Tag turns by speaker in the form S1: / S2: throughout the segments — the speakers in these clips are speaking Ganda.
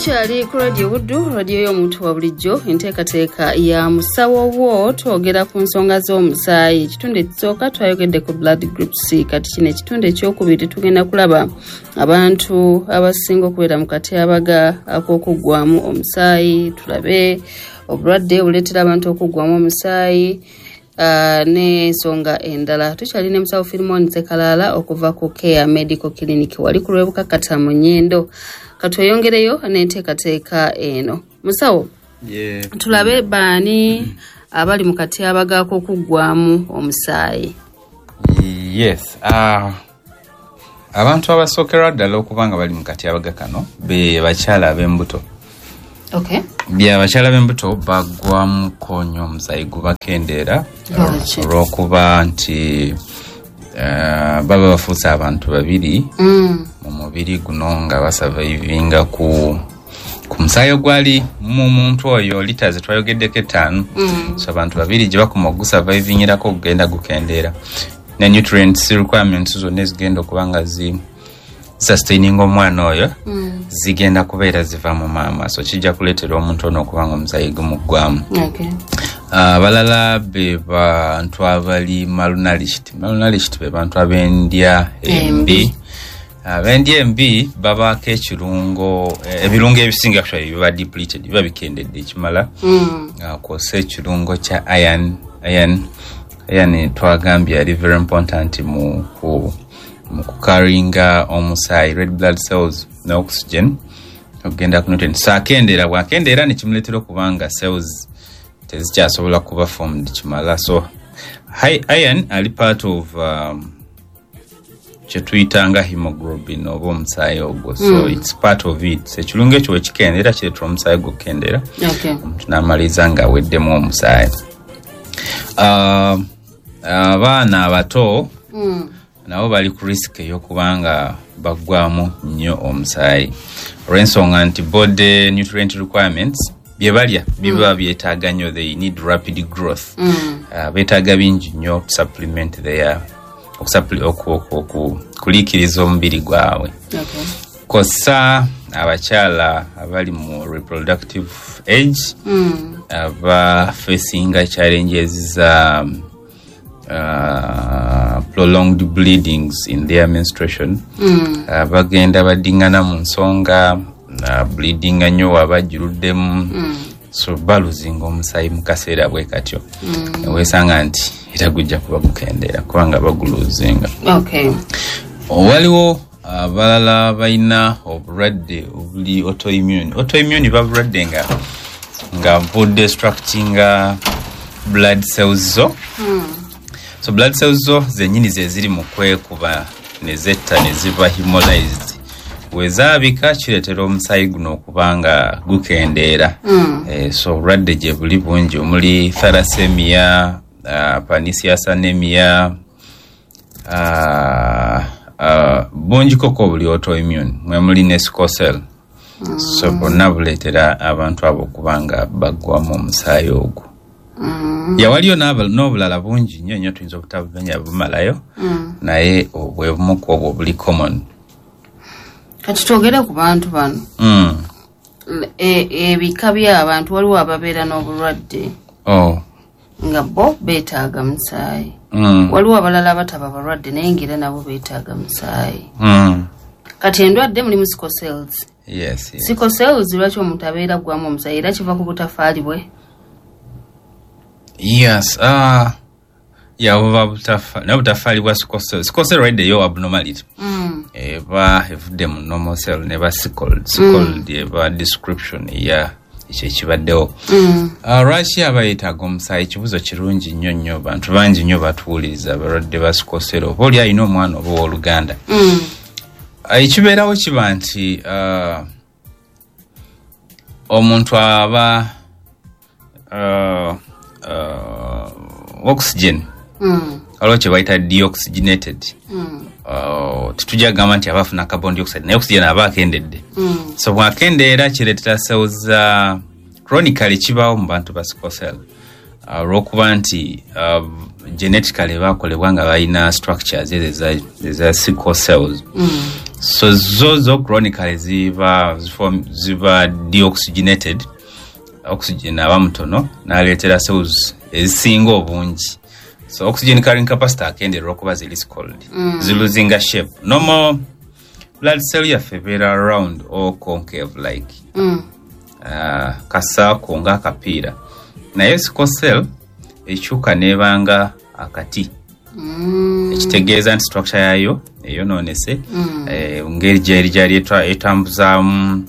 S1: Tukyali ku Radio Buddu, radio y'omuntu wa bulijjo, enteekateeka ya Musawo Wo. Twogera ku nsonga z'omusaayi. Ekitundu ekisooka twayogedde ku blood groups. Kati kino ekitundu ekyokubiri tugenda kulaba abantu abasinga okubeera mu katyabaga ak'okuggwamu omusaayi, tulabe obulwadde obuleetera abantu okuggwamu omusaayi n'ensonga endala. Tukyali ne Musawo Filimon Sekalaala okuva ku Care Medical Clinic wali ku Lwebukakata mu Nyendo. Katweyongereyo n'enteekateeka eno. Musawo, tulabe baani abali mu katyabaga ak'okuggwamu omusaayi.
S2: Yes, abantu abasookerwa ddala okuba nga bali mu katyabaga kano be bakyala ab'embuto. Abakyala b'embuto baggwamuko nnyo omusaayi, gubakendeera olw'okuba nti baba bafuuse abantu babiri mu mubiri guno nga basurvivinga ku musaayi ogwali mu muntu oyo, lita zetwayogeddeko 5. So abantu babiri gye bakoma ogusurvivingirako gugenda gukendeera, ne nutrients requirements zonna ezigenda okuba nga sustaining omwana oyo zigenda kubeera ziva mu maama, so kijja kuleetera omuntu ono okuba nga omusaayi gumuggwamu. Abalala be bantu abali malnourished. Malnourished be bantu ab'endya embi. Ab'endya embi babaako ekirungo, ebirungo ebisinga actually biba depleted, biba bikendedde ekimala, kwossa ekirungo kya iron. Iron twagambye ali very important mu kukaringa omusaayi, red blood cells ne oxygen okugenda ku nutrients. So akendeera, bw'akendeera ne kimuleetera okuba nga cells tezikyasobola kuba formed kimala. So high iron ali part of kyetuyitanga hemoglobin oba omusaayi ogwo, so it's part of it. Ekirungo ekyo wekikendeera kireetera omusaayi gukendeera, omuntu n'amaliriza ng'aweddemu omusaayi. Abaana abato nabo bali ku risk ey'okuba nga baggwamu nnyo omusaayi olw'ensonga nti body nutrient requirements bye balya biba byetaaga nnyo, they need rapid growth. Beetaaga bingi nnyo supplement their kuliikiriza omubiri gwabwe. Kossa abakyala abali mu reproductive age aba facinga challenges za prolonged bleedings in their menstruation. Bagenda badingana mu nsonga, bleedinga nnyo wabajjuruddemu, so baluzinga omusaayi mu kaseera bwe katyo. Weesanga nti era gujja kuba gukendeera kubanga baguluzinga. Waliwo abalala balina obulwadde obuli autoimmune. Autoimmune babulwadde nga budestructinga blood cells zo. So blood cells zo zennyini ze ziri mu kwekuba ne zetta ne ziba hemolyzed. Wezaabika kireetera omusaayi guno okuba nga gukendeera. So obulwadde gye buli bungi omuli thalassemia, pernicious anemia, bungi koko obuli autoimmune, mwe muli ne sickle cell. So bonna buleetera abantu abo okuba nga baggwamu omusaayi ogwo. Yawaliyo n'obulala bungi nnyo nnyo tuyinza obutabumenya bumalayo, naye obwe bumu ku obwo buli common.
S1: Kati twogere ku bantu bano. Ebika by'abantu, waliwo ababeera n'obulwadde nga bo beetaaga musaayi. Waliwo abalala abataba balwadde naye ng'era nabo beetaaga musaayi. Kati endwadde mulimu sickle cells.
S2: Yes.
S1: Sickle cells lwaki omuntu abeera aggwamu omusaayi? Era kiva ku butafaali bwe?
S2: Yes, buba butafaali bwa sickle cell. Sickle cell already yo abnormality. Eba evudde mu normal cell neba sickle. Sickle eba description ya ekyo ekibaddewo. Lwaki aba yeetaaga omusaayi? Ekibuuzo kirungi nnyo nnyo, bantu bangi nnyo batuwuliriza abalwadde ba sickle cell, oba oli alina omwana oba owooluganda. Ekibeerawo kiba nti omuntu aba oxygen waliwo kye bayita deoxygenated. Tetujja kugamba nti aba afuna carbon dioxide, naye oxygen aba akendedde. So bw'akendeera kireetera cells za chronically kibaawo mu bantu ba sickle cell olw'okuba nti genetically bakolebwa nga balina structures ezo eza sickle cells. So zo chronically ziba deoxygenated, oxygen aba mutono n'aleetera cells ezisinga obungi. So oxygen carrying capacity akendeera olwokuba ziri sickled, zilosinga shape. Normal blood cell yaffe ebeera round or concave like kasaako ng'akapiira, naye sickle cell ekyuka n'ebanga akati, ekitegeeza nti structure yayo eyonoonese, ngeri gyeri gyali etambuzaamu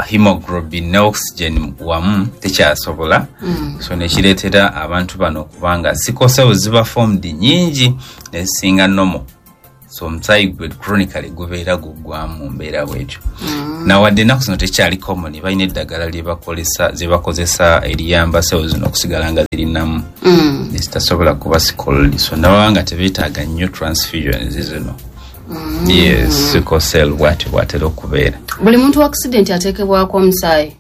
S2: hemoglobin ne oxygen wamu tekyasobola. So nekireetera abantu bano okubanga sickle cells ziba formed nyingi nezisinga normal. So omusaayi gwe chronically gubeera guggwamu mu mbeera bwetyo. Nawadde ennaku zino tekyali common, balina eddagala lyebakozesa eriyamba cells zino okusigala nga zirinamu, nezitasobola kuba sickled. So nababa nga tebeetaaga nnyo transfusions zino. Yes, sickle cell bwatyo bwatera okubeera.
S1: Buli muntu wa accident ateekebwako omusaayi?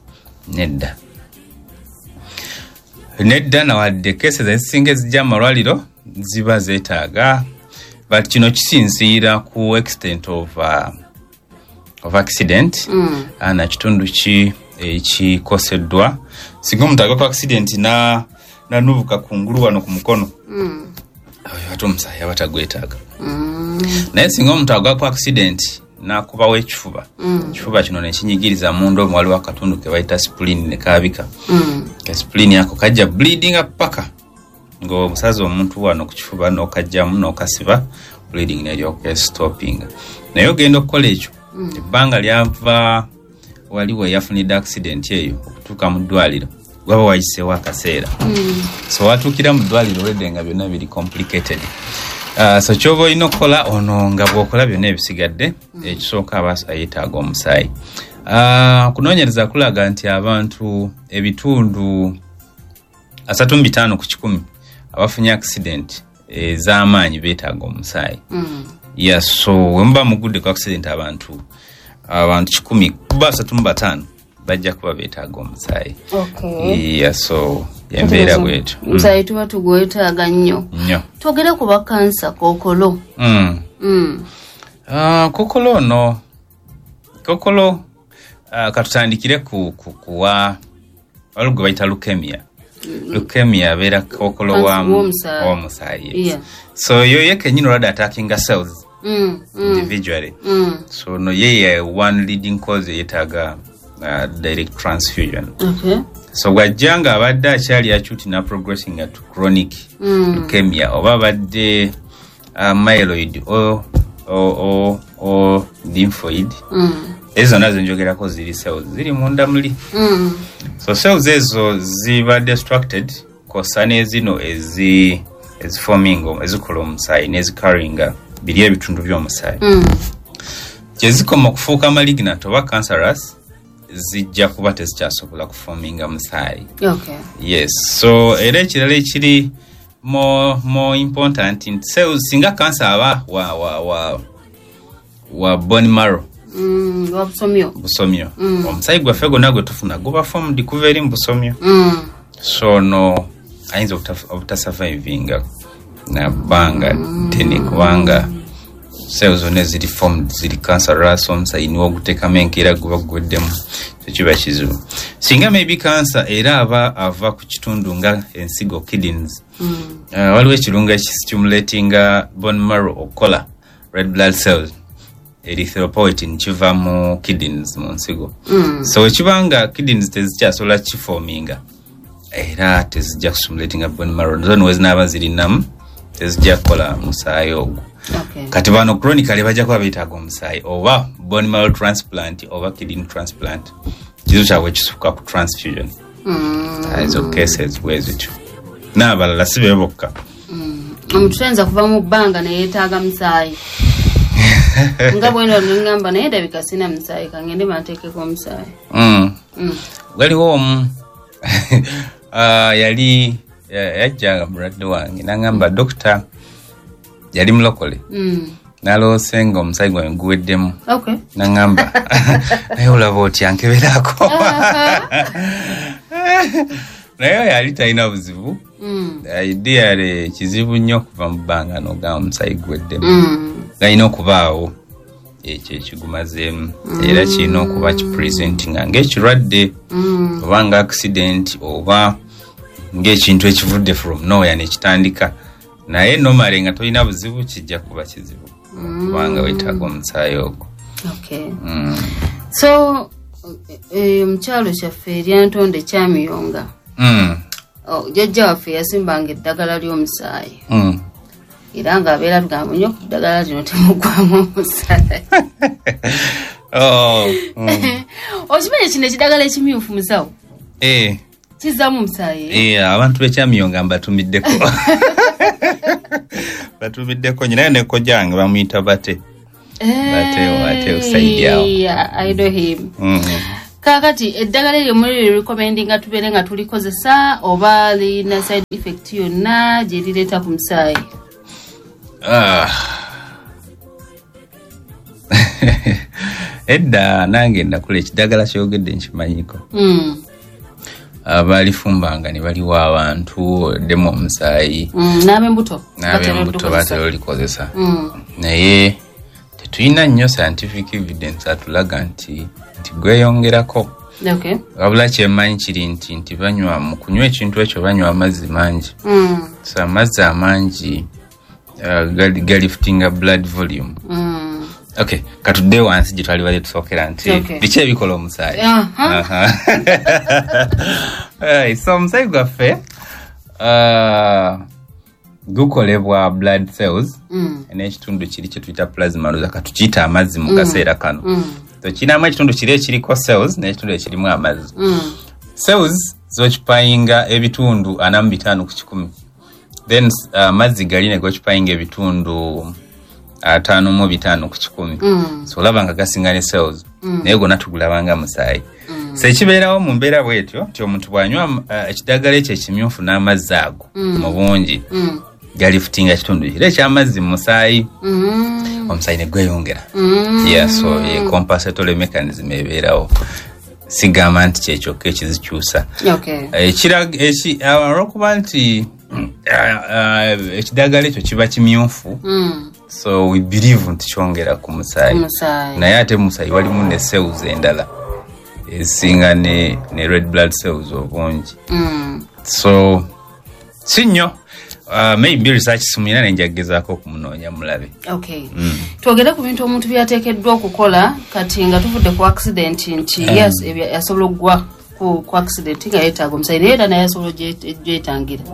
S2: Nedda, nawadde cases ezisinga ezijja mu malwaliro ziba zeetaaga, but kino kisinziira ku extent of accident, na kitundu ki ekikoseddwa. Singa omuntu agwa ku accident nanubuka kungulu wano ku mukono, oyo ate omusaayi aba tagwetaaga. Naye singa omuntu agwa ku accident n'akubawo ekifuba, ekifuba kino nekinyigiriza munda omwo, waliwo akatundu ke bayita spleen ne kaabika. Ka spleen ako kajja bleedinga paka ng'omusazi omuntu wano ku kifuba n'okajjamu n'okasiba, bleeding neryoka stoppinga. Naye ogenda okukola ekyo, ebbanga lyava wali we yafunidde accident eyo okutuuka mu ddwaliro waba wayiseewo akaseera. So watuukira mu ddwaliro olwedde nga byonna biri complicated. So kyoba olina okukola ono nga bw'okola byonna ebisigadde, ekisooka aba yeetaaga omusaayi. Kunoonyereza kulaga nti abantu ebitundu 35 ku 100 abafunye accident ez'amaanyi beetaaga omusaayi. Yeah, so we muba mugudde ku accident abantu 100 kuba 35 bajja kuba beetaaga omusaayi. Yeah, so embeera bwetyo.
S1: Omusaayi tuba tugwetaaga nnyo. Twogere ku ba kansa, kookolo.
S2: Kookolo ono, kookolo, katutandikire kuwa waliwo gwe bayita leukemia. Leukemia abeera kookolo w'omusaayi.
S1: Yeah.
S2: So yo ye kennyini olwadde attackinga cells individually. So no ye one leading cause yeetaaga direct transfusion. So bw'ajja nga abadde akyali acute na progressing to chronic leukemia, oba abadde myeloid o lymphoid, ezo zonna zenjogerako ziri cells ziri munda muli. So cells ezo ziba destructed kosa n'ezino eziforming ezikola omusaayi n'ezicarryinga biri ebitundu by'omusaayi. Gyezikoma okufuuka malignant oba cancerous, zijja kuba tezikyasobola kuforminga musaayi. Yes, so era ekirala ekiri more important nti cells singa cancer aba wa bone marrow,
S1: wa busomyo,
S2: omusaayi gwaffe gwonna gwe tufuna guba formed kuva eri mu busomyo. So no ayinza obutasurvivinga na bbanga ddene kubanga cells zonna ziri formed ziri cancerous, omusaayi niwo oguteekamu enkeera guba guweddemu, tekiba kizibu. Singa maybe cancer era aba ava ku kitundu nga ensigo, kidneys, waliwo ekirungo ekistimulatinga bone marrow okukola red blood cells, erythropoietin, kiva mu kidneys, mu nsigo. So ekibanga kidneys tezikyasobola kiforminga, era tezijja kustimulatinga bone marrow, zo niwe zinaaba zirinamu tezijja kukola musaayi ogwo. Kati bano chronically bajja kuba beetaaga omusaayi oba bone marrow transplant oba kidney transplant. Kizibu kyabwe kisukka ku transfusion. Ezo cases bwe zityo, n'abalala si be bokka.
S1: Omuntu tuyinza kuva mu bbanga neyeetaaga musaayi nga bweno ngamba naye ndabika sina musaayi, kangende banteekeko omusaayi.
S2: Waliwo omu yali yajjanga mulwadde wange n'angamba dokita yali mulokole, naloose nga omusaayi gwange guweddemu. N'angamba naye olaba otya nkeberako. Naye yali talina buzibu. Ideally kizibu nnyo okuva mu bbanga n'ogamba omusaayi guweddemu, galina okubaawo. Ekyo ekigumazeemu era kirina okuba kipresentinga ng'ekirwadde oba nga accident oba ng'ekintu ekivudde from nowhere nekitandika. Naye normally nga tolina buzibu kijja kuba kizibu kubanga weetaaga omusaayi ogwo.
S1: So mukyalo kyaffe eryantonde Kyamiyonga, jjajja waffe yasimbanga eddagala ly'omusaayi era ng'abeera tugamba nnyo ku ddagala lino temugwamu omusaayi. Okimanyi kino ekiddagala ekimyufu musawo? Kizaamu omusaayi?
S2: Abantu b'Ekyamiyonga mbatumiddeko. Batumiddeko nyina ne kojjange bamuyita Bate. Bate usaidiawo.
S1: Yeah, I know him. Kaakati eddagala eryo muli recommendinga tubeere nga tulikozesa oba lirina side effect yonna gye lireeta ku musaayi?
S2: Edda nange nakula ekiddagala kyogedde nkimanyiko. Balifumbanga ne baliwa abantu ddemu omusaayi.
S1: N'ab'embuto.
S2: N'ab'embuto batera olikozesa. Naye tetulina nnyo scientific evidence atulaga nti gweyongerako. Wabula kyemmanyi kiri nti banywa mu kunywa ekintu ekyo banywa amazzi mangi. So amazzi amangi galiftinga blood volume. Okay, katudde wansi gye twali bali tusookera nti biki ebikola omusaayi. So omusaayi gwaffe gukolebwa blood cells n'ekitundu kiri kye tuyita plasma, looza katukiyita amazzi mu kaseera kano. So kirinamu ekitundu kiri ekiriko cells n'ekitundu ekirimu amazzi. Cells z'okipayinga ebitundu 45 ku 100. Then amazzi gali ne gokipayinga ebitundu 55 ku 100. So olaba nga gasinga ne cells naye gonna tugulabanga musaayi. So ekibeerawo mu mbeera bw'etyo nti omuntu bw'anywa ekiddagala ekyo ekimyufu n'amazzi ago mu bungi galifutinga kitundu kiri ekyamazzi mu musaayi, omusaayi ne gweyongera. So compensatory mechanism ebeerawo. Sigamba nti kyekyokka ekizikyusa. Olwokuba nti ekiddagala ekyo kiba kimyufu, so we believe nti kyongera ku musaayi. Naye ate mu musaayi walimu ne cells endala ezisinga ne red blood cells obungi. So si nnyo. Maybe research sumina nenjagezaako okumunoonya mulabe.
S1: Twogere ku bintu omuntu byateekeddwa okukola kati nga tuvudde ku accident nti yes asobola okugwa ku accident nga yeetaaga omusaayi naye era naye asobola ogyetangira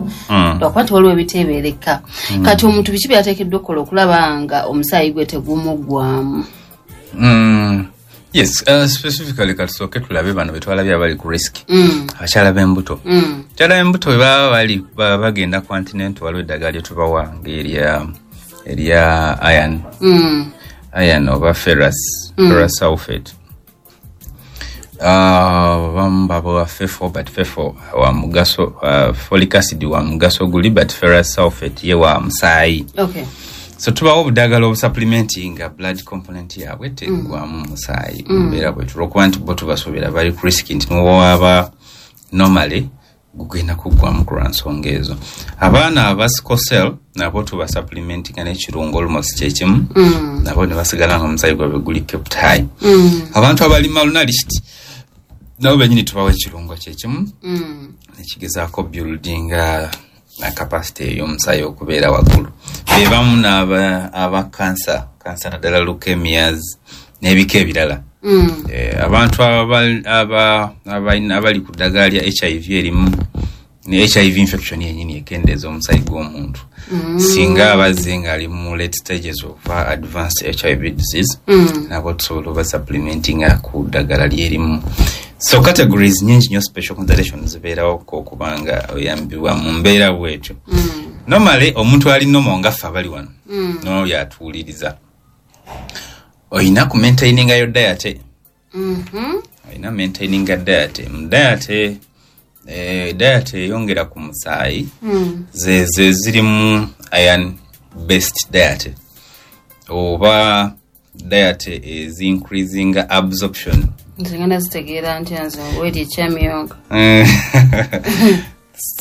S1: lwakuba nti waliwo ebiteebeereka. Kati omuntu biki byateekeddwa okukola okulaba nga omusaayi gwe tegumuggwamu?
S2: Yes, specifically katusooke tulabe bano betwalabye abali ku risk. Abakyala b'embuto. Abakyala b'embuto bwe baba bali bagenda ku antenatal waliwo eddagala lye tubawa ng'erya iron. Iron oba ferrous sulfate. Abamu babawa fefo, but fefo wa mugaso, folic acid wa mugaso guli, but ferrous sulfate ye wa musaayi. So tubawo obuddagala obusupplementinga blood component yaabwe teggwamu musaayi mbeera bwetyo olwokuba nti bo tubasuubira bali ku risk nti nowaba normally gugenda kuggwamu ku lwa nsonga ezo. Abaana aba sickle cell nabo tubasupplementinga n'ekirungo almost kyekimu, nabo ne basigala nga omusaayi gwabwe guli kept high. Abantu abali malnourished nabo bennyini tubawa ekirungo kyekimu nekigezaako buildinga na capacity ey'omusaayi okubeera waggulu. Be bamu n'aba cancer naddala leukemias n'ebika ebirala. Abantu abali ku ddagala lya HIV erimu ne HIV infection yennyini ekendeeza omusaayi gw'omuntu. Singa abazze ng'ali mu late stages of advanced HIV disease, nabo tusobola obasupplementinga ku ddagala lyerimu. So categories nyingi nnyo special considerations zibeerawo okubanga oyambibwa mu mbeera bwetyo. Normally omuntu ali normal nga ffe abali wano n'oyo atuwuliriza, oyina ku maintaininga yo diet. Oyina maintaininga diet. Mu diet diet eyongera ku musaayi ze zirimu iron based diet oba diet is increasing absorption.
S1: Nze ngenda zitegeera nti nze weeri Ekyamiyonga.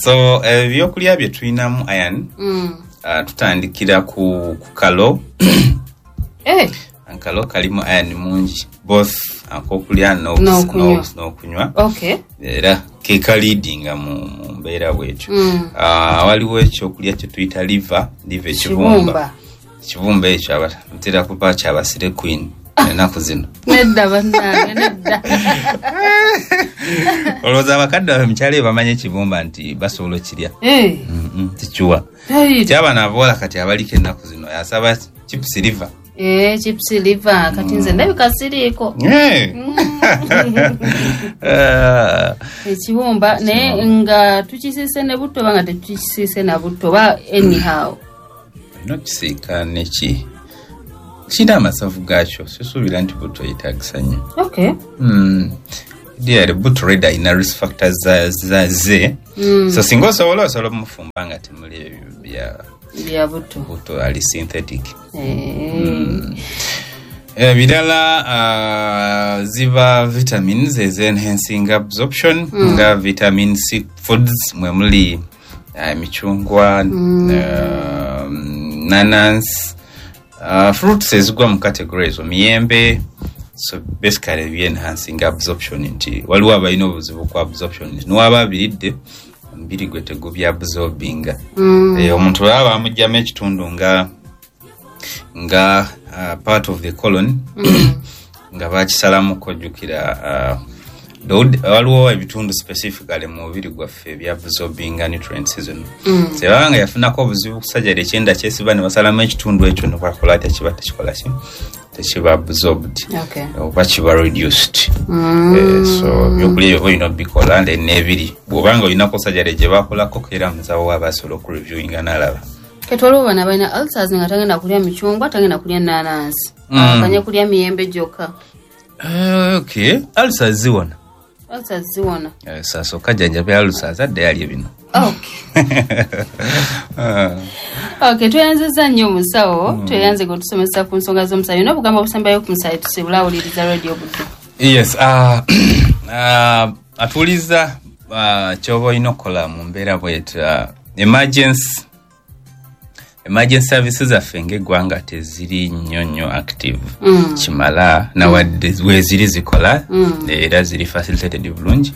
S2: So ebyokulya bye tulinamu iron, tutandikira ku kalo Akalo kalimu iron mungi, both akokulya n'okunywa.
S1: Okay.
S2: Era ke kaleadinga mu mbeera bwetyo. Waliwo ekyokulya kye tuyita liver ekibumba. Ekibumba ekyo ntera kuba kyabasire queen ennaku zino.
S1: Nedda bannange, nedda.
S2: Olowooza abakadde baffe mukyalo bamanyi ekibumba nti basobola okirya? Tikiwa. Kyabano abawala kati abaliko ennaku zino asaba chips liver.
S1: Chips liver kati nze ndabika siriiko. Ekibumba naye nga tukisiise ne butto oba nga tetukisiise na butto oba anyhow.
S2: Olina okisiika neki kirina amasavu gaakyo, sisuubira nti butto yeetaagisa nnyo.
S1: Okay.
S2: Dear, butto already alina risk factors ze. So singa osobola omufumba nga temuli ebyo
S1: bya butto.
S2: Butto ali synthetic. Ebirala ziba vitamins enhancing absorption, nga vitamin C foods mwe muli emicungwa, nanansi, fruits ezigwa mu category ezo, miyembe. So basically bi enhancing absorption nti waliwo abalina obuzibu ku absorption nti niwaba abiridde omubiri gwe tegubya absorbinga. Omuntu bw'aba bamuggyamu ekitundu nga part of the colon, nga bakisalamuko, ojjukira waliwo ebitundu specifically mu mubiri gwaffe ebyabsorbinga nutrients zino. Sebaba nga yafunako obuzibu kusajjala ekyenda kyesiba ne basalamu ekitundu ekyo ne bakola atya, kiba tekikola ki, tekiba absorbed. Oba kiba reduced. So ebyokulya ebyo olina obikola n'ebiri bw'obanga olinako sajjala gye bakolako era musawo aba asobola okureviewinga n'alaba.
S1: Kati waliwo bano abalina ulcers nga tagenda kulya micungwa, tagenda kulya nanansi, akanye kulya miyembe gyokka.
S2: Okay, ulcers ziwona.
S1: Ulcers ziwona.
S2: Sasooka jjanjaba ulcers adde yalye bino.
S1: Okay, tweyanzizza nnyo omusawo, tweyanze kutusomesa ku nsonga z'omusaayi. N'obugambo obusembayo ku musaayi tusibula awuliriza Radio Buddu.
S2: Yes, atuuliza ky'oba olina okukola mu mbeera bwetyo. Emergency services zaffe ng'eggwanga teziri nnyo nnyo active kimala, nawadde weeziri zikola era ziri facilitated bulungi,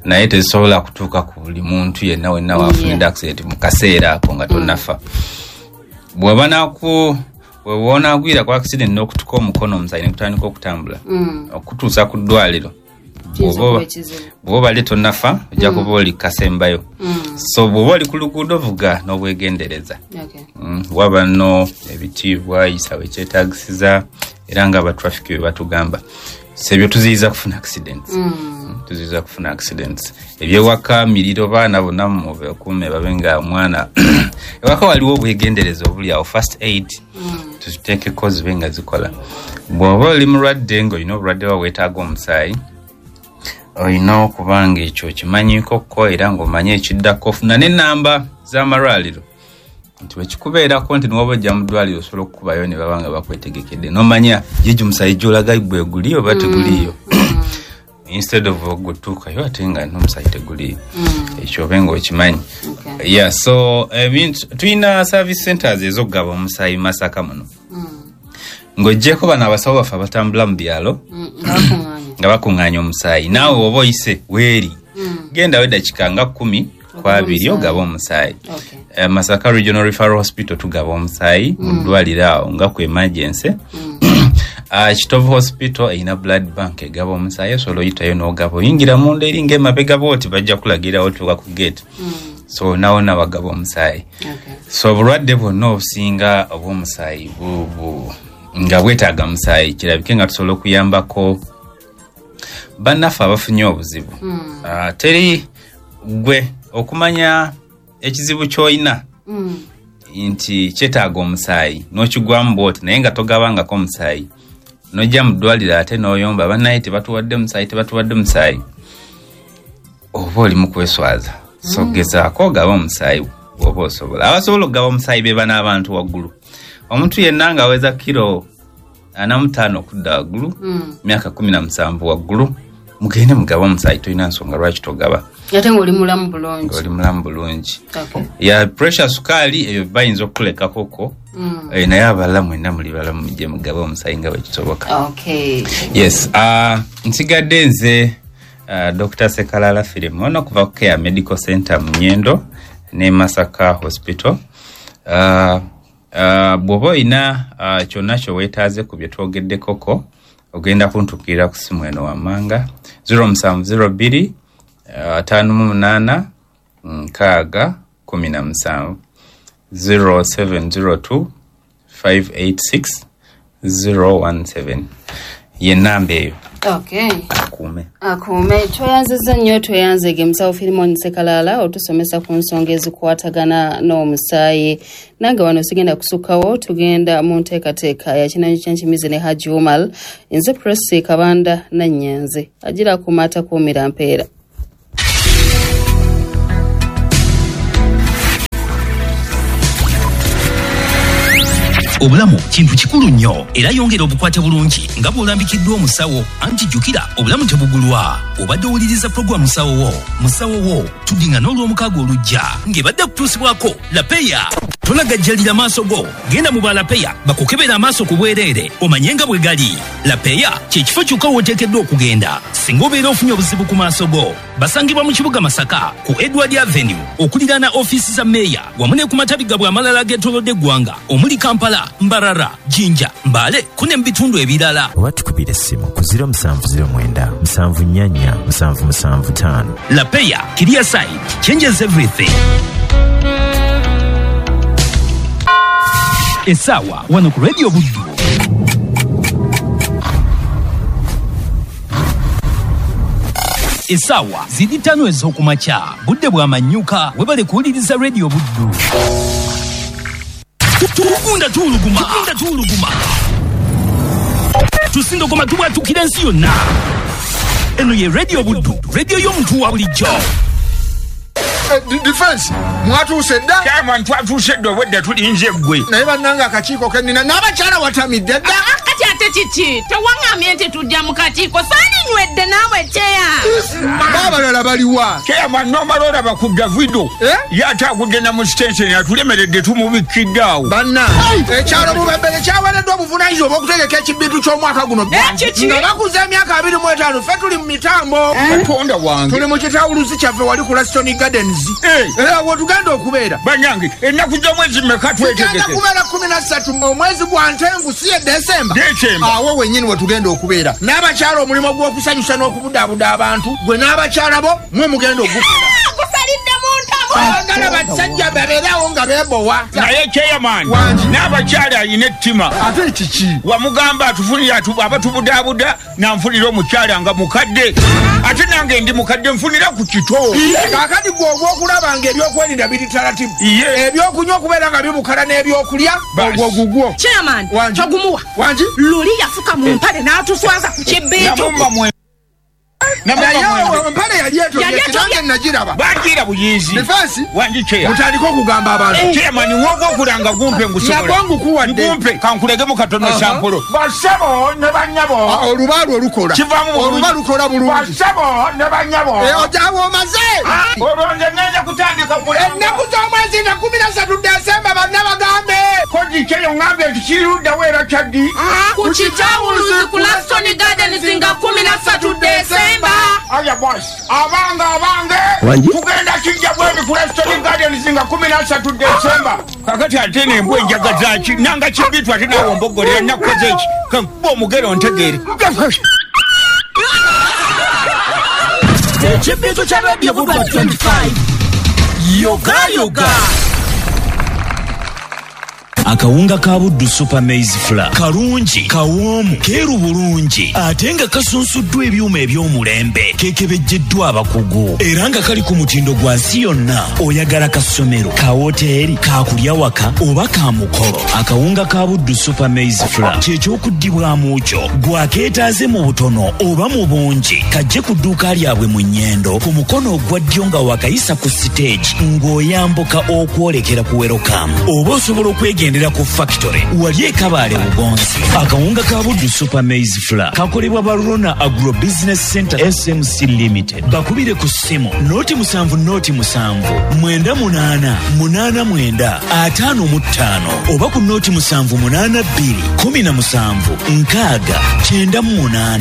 S2: naye tezisobola kutuuka ku buli muntu yenna wenna wafunidde accident mu kaseera ako nga tonnafa. Bw'oba onaagwira ku accident n'okutuka omukono omusaayi ne gutandika okutambula okutuusa ku ddwaliro, bw'oba obadde tonnafa ojja kuba oli kasembayo. So bw'oba oli ku luguudo vuga n'obwegendereza. Waba nno ebitiibwa, yisawo ekyetaagisiza, era nga abatraffic bwe batugamba. So ebyo tuziyiza kufuna accidents. Tuziyiza kufuna accidents. Ebyewaka miriro, baana bonna mubakuume babe nga omwana ewaka waliwo obwegendereza obuli awo, first aid tuziteekeko zibe nga zikola. Bw'oba oli mulwadde ng'olina obulwadde bwa weetaaga omusaayi, olina okuba nga ekyo okimanyiikokko era ng'omanye ekiddako, ofuna n'ennamba z'amalwaliro nti wekikubeerako nti niwaba ojja mu ddwaliro osobola okukubayo ne baba nga bakwetegekedde n'omanya gigi omusaayi gy'olaga gwe guli oba teguliiyo. Instead of ogutuukayo ate nga n'omusaayi teguliiyo, ekyo obe ng'okimanyi. Yeah, so tulina service centers ez'okugaba omusaayi Masaka muno. Ng'oggyeko bano abasawo baffe abatambula mu byalo nga bakuŋŋaanya omusaayi, naawe oba oyise weeri gendawo eddakiika nga 10 ku 20 ogaba omusaayi. Masaka Regional Referral Hospital tugaba omusaayi mu ddwaliro awo nga ku emergency. Kitovu Hospital erina blood bank egaba omusaayi, osobola oyitayo n'ogaba, oyingira munda eri ng'emabega bw'oti bajja kulagirawo otuuka ku gate. So nawona bagaba omusaayi. So obulwadde bwonna obusinga obw'omusaayi nga bwetaaga musaayi, kirabike nga tusobola okuyambako bannaffe abafunye obuzibu. Teri gwe okumanya ekizibu ky'olina nti kyetaaga omusaayi n'okigwamu bw'oti naye nga togabangako omusaayi, n'ojja mu ddwaliro ate n'oyomba bannaye tebatuwadde musaayi, tebatuwadde musaayi, oba oli mu kweswaza. So gezaako ogaba omusaayi bw'oba osobola. Abasobola okugaba omusaayi be bano abantu waggulu. Omuntu yenna ng'aweza kiro 45 okudda waggulu, myaka 17 waggulu, mugende mugabe omusaayi, tolina nsonga lwaki togaba.
S1: Ate ng'oli mulamu bulungi.
S2: Ng'oli mulamu bulungi. Ya pressure, sukaali ebyo bayinza okukulekakoko Naye abalala mwenna muli balamu, mujje mugabe omusaayi nga bwe kisoboka. Yes, nsigadde nze Dr. Sekalala Filimon okuva ku Care Medical Center mu Nyendo ne Masaka Hospital. Bw'oba olina kyonna kyoweetaaze ku bye twogeddekoko, ogenda kuntuukirira ku simu eno wammanga: 0702 58 6 17, 0702 586 017, ye namba eyo. Akuume.
S1: Akuume. Tweyanzizza nnyo, tweyanzege musawo Filimon Sekalala otusomesa ku nsonga ezikwatagana n'omusaayi. Nange wano sigenda kusukkawo, tugenda mu nteekateeka ya Kinanyi Kyenkimizi ne Haji Umar. Nze Presi Kabanda Nannyanze, agira kumata kuumira mpeera.
S3: Obulamu kintu kikulu nnyo, era yongera obukwate bulungi nga bw'olambikiddwa omusawo, anti jjukira obulamu tebugulwa. Obadde owuliriza puroguramu Musawo Wo. Musawo Wo tuddingana Olwomukaaga olujja, ng'ebadde kutuusibwako Lapeya. Tolagajjalira maaso go, genda mu Balapeya bakukebera amaaso ku bwereere omanye nga bwe gali. Lapeya kyekifo kyokka w'oteekeddwa okugenda singa obeera ofunye obuzibu ku maaso go. Basangibwa mu kibuga Masaka ku Edward Avenue okuliraana ofiisi za meeya, wamu ne ku matabi gabwe amalala ageetoolodde eggwanga omuli Kampala, Mbarara, Jinja, Mbale ku ne mu bitundu ebirala.
S4: Oba tukubira essimu ku 0709 74 775.
S3: Lapeya, clear sight changes everything. Essaawa wano ku Radio Buddu essaawa ziri 5 ez'okumakya, budde bwa manyuka. Webale kuwuliriza Radio Buddu. Tugunda tuwuluguma, tugunda tuwuluguma, tusindogoma, tubwatukira ensi yonna. Eno ye Radio Buddu, radio y'omuntu wa bulijjo.
S5: Defense, mwatuuse dda?
S6: Chairman, twatuuse dda, obwedda tulinze ggwe.
S5: Naye bannange, akakiiko kennina n'abakyala watamidde dda.
S7: Kati ate kiki? Tewaŋŋambye nti tujja mu kakiiko? Saalinywedde naawe kyeya.
S5: Baabalala baliwa?
S6: Chairman, nomala olaba ku Davido.
S5: Eh?
S6: Ye ate agudde na mu sitenseni, atulemeredde, tumubikidde awo.
S5: Banna, ekyalo Bubembere kyaweereddwa obuvunaanyizibwa obw'okutegeka ekibintu ky'omwaka guno.
S7: Kiki?
S5: Nga bakuza emyaka 25, ffe tuli mu mitambo.
S6: Katonda wange!
S5: Tuli mu kitawuluzi kyaffe wali ku Laston Gardens. Era wetugenda okubeera.
S6: Bannange, ennaku z'omwezi mmeka?
S5: Tugenda
S6: Twetegeke.
S5: kubeera 13 omwezi gwa Ntengu, si ye Desemba?
S6: Desemba.
S5: Awo wennyini wetugenda okubeera. N'abakyala, omulimu gw'okusanyusa n'okubudaabuda abantu, gwe n'abakyala bo mwe mugenda ogukola.
S7: Gusalidde mu ntamu.
S5: Baagala basajja babeerawo nga beebowa.
S6: Naye chairman,
S5: Wangi.
S6: n'abakyala alina ettima.
S5: Ate kiki?
S6: Wamugamba atufunire abatubudaabuda, nanfunira omukyala nga mukadde, ate nange ndi mukadde, nfunira ku kito.
S5: Kaakati gwe ogw'okulaba nga ebyokwerinda biri taratibu,
S6: Ye.
S5: ebyokunywa okubeera nga bibukala n'ebyokulya,
S6: Basi.
S5: ogwo gugwo.
S7: Chairman,
S5: Wangi.
S7: togumuwa.
S5: Wangi.
S7: Luli yafuka mu mpale n'atuswaza ku kibintu.
S6: Namumma mwe.
S5: Naye
S6: Namumma mwe.
S5: empale yali etobye.
S7: Yali etobye.
S5: Nange nagiraba.
S6: Bagira buyizi.
S5: Defense.
S6: Wangi, chair.
S5: Mutandike okugamba abantu.
S6: Chairman, wogwokulanga gumpe ngusobola.
S5: Nagwo ngukuwadde.
S6: Ngumpe kankulegemu katono.
S5: Aha.
S6: Sample, basebo ne banyabo.
S5: Ah, oluba lwo lukola.
S6: Kivaamu bulungi.
S5: Oluba lukola bulungi.
S6: Basebo ne banyabo.
S5: Eh, ojaawo omaze.
S6: Olwo nze ngenda kutandika kulanga.
S5: Ennaku z'omwezi nga 13 Desemba, banna bagambe.
S6: Koji kyeyo ŋŋambye nti kiruddawo era kyaddi?
S7: Ku kitawuluzi ku Laston Gardens nga 13 Desemba.
S6: Aya boss, abange, abange, tugenda kijja bwebi ku Laston Gardens nga 13 Desemba. Kakati ate nembwa enjaga zaki nanga kibitu, ate naawe ombogolera nakukoze eki? Kankuba omugero ntegeere.
S3: Ekibintu kya Radio Buddu 25, yoga yoga. Akawunga ka Buddu Super Maize Flour kalungi, kawoomu, keeru bulungi, ate nga kasunsuddwa ebyuma eby'omulembe, kekebejjeddwa abakugu, era nga kali ku mutindo gwa nsi yonna. Oyagala kasomero, ka woteeri, kakulya waka oba ka mukolo, akawunga ka Buddu Super Maize Flour kyekyokuddibwamu kyo. Gwakeetaaze mu butono oba mu bungi, kajje ku dduuka lyabwe mu Nnyendo ku mukono ogwa ddyo nga wakayisa ku siteegi ng'oyambuka okwolekera ku Werokamu, oba osobola okwegendera Bakolera ku factory wali e Kabale Bugonzi. Akawunga ka Buddu Super Maize Flour kakolebwa Barona Agro Business Center SMC Limited. Bakubire ku ssimu 07 07 98 89 55 oba ku 0782 17 6 98.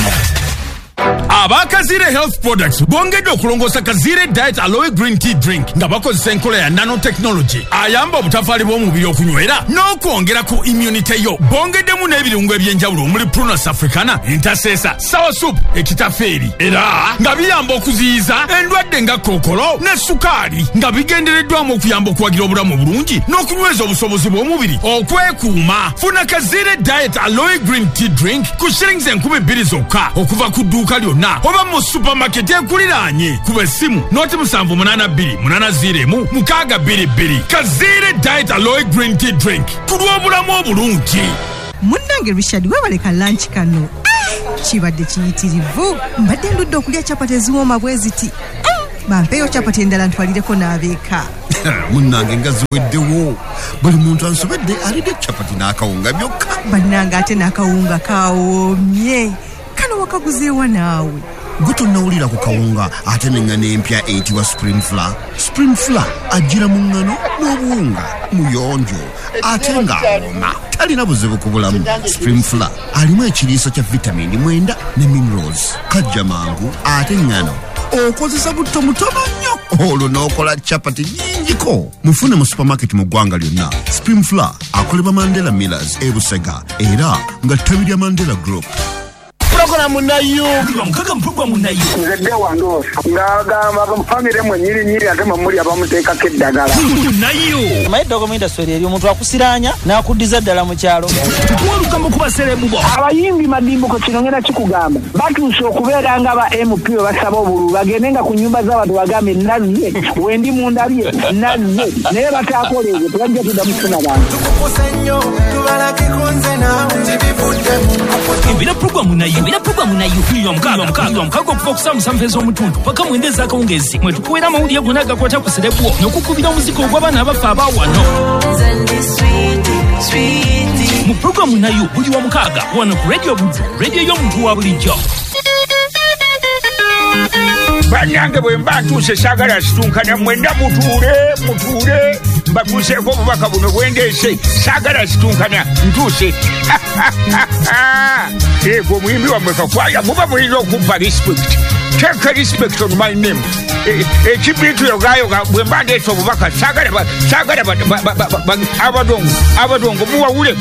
S8: Abakazire Health Products bongedde okulongoosa Kazire Diet Aloe Green Tea Drink nga bakozesa enkola ya nanotechnology ayamba obutafaali bw'omubiri okunywera n'okwongera ku immunity yo. Bongeddemu n'ebirungo eby'enjawulo omuli Prunus africana, entasesa, sour soup, ekitafeeri, era nga biyamba okuziyiza endwadde nga kookolo ne sukaali, nga bigendereddwamu okuyamba okuwagira obulamu obulungi n'okunyweza obusobozi bw'omubiri okwekuuma. Funa Kazire Diet Aloe Green Tea Drink ku shillings 2000 zokka okuva ku dduuka lyonna oba mu supermarket ekuliraanye. Kuba essimu 0782 801 622. Kazire Diet Aloe Green Tea Drink ku lw'obulamu obulungi.
S9: Munnange Richard, webaleka lunch kano kibadde kiyitirivu. Mbadde ndudde okulya chapati eziwooma bwe ziti. Bampeeyo chapati endala ntwalireko n'abeeka.
S10: Munnange nga ziweddewo, buli muntu ansobedde alidde chapati n'akawunga byokka.
S9: Bannange ate n'akawunga kawoomye. Kano wakaguzeewa naawe?
S10: Gwe tonnawulira ku kawunga ate n'eŋŋano empya eyitibwa Spring Flour. Spring Flour ajjira mu ŋŋano n'obuwunga, muyonjo ate ng'awooma, talina buzibu ku bulamu. Spring Flour alimu ekiriisa kya vitamini 9 ne minerals, kajja mangu ate ŋŋano okozesa butto mutono nnyo olwo n'okola chapati nnyingiko. Mufune mu supermarket mu ggwanga lyonna. Spring Flour akolebwa Mandela Millers e Busega era nga ttabi lya Mandela Group.
S5: Programu nayo
S3: mukaga programu nayo
S11: nzedde wandoosa ng'agamba famire mwe nyirinyiri ate mwe muli abamuteekako eddagala
S3: nayo
S12: maye eddogo mu industry eri omuntu akusiraanya n'akuddiza ddala mu kyalo.
S3: Tukuwalukambo ku baserebu bo
S11: abayimbi madimbuko kino ngenda kikugamba batuuse okubeera nga ba MP we basaba obululu bagende nga ku nnyumba z'abantu bagambe nazze wendi mundabye nazze naye bataakola ebyo tebajja tuddamu kufuna bantu.
S3: Ebira programu nayo era programu nayo mukaga okuva okusaa musanvu ez'omutundu paka mwenda ez'akawungeezi mwe tukuweera amawulire gonna agakwata ku serebu n'okukubira omuziki ogw'abaana abafa abaawano mu programu nayo buli wa mukaaga wano ku Radio Buddu, radio y'omuntu wa bulijjo.
S6: Bannange bwe mba ntuuse saagala situnkana mwenda mutuule mbatuuseeko obubaka buno bwendeese saagala situnkana ntuuse. Ego omuyimbi wammwe Kakwaya muba mulina okumpa respect. Take respect on my name. Ekibiitu yogayoga bwe mba ndeese obubaka saagala abadongo muwawule.